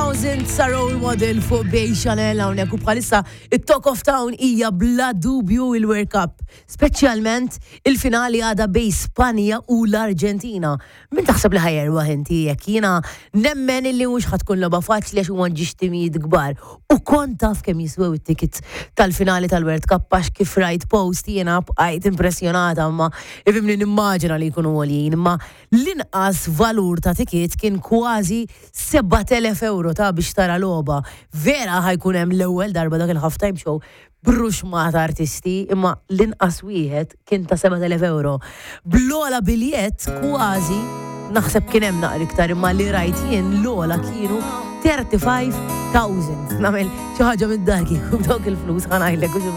Townsend sa role model fuq Bay Chanel hawnhekk u bħalissa it-Talk of Town hija bla dubju il-World Cup, speċjalment il-finali għada bej Spanja u l-Arġentina. Min taħseb li ħa jerbaħ inti jekk jiena nemmen illi mhux ħa tkun logħba faċli għax huma ġiex timijiet kbar. U kont taf kemm jiswew it-tickets tal-finali tal-World Cup għax kif rajt post jiena bqajt impressjonata imma ifhimni nimmaġina li jkunu għoljin imma l-inqas valur ta' ticket kien kważi 7,000 euro ta' biex tara logħba. Vera ħa jkun hemm l-ewwel darba dak il-half time show b'ruxmata artisti imma l-inqas wieħed kien ta' 7,000 euro. Bl-ogħla biljett kważi naħseb kien hemm naqra iktar imma li rajt jien l-ogħla kienu 35,000. Nagħmel xi ħaġa mid-dar kieku b'dawk il-flus ħa ngħidlek u xi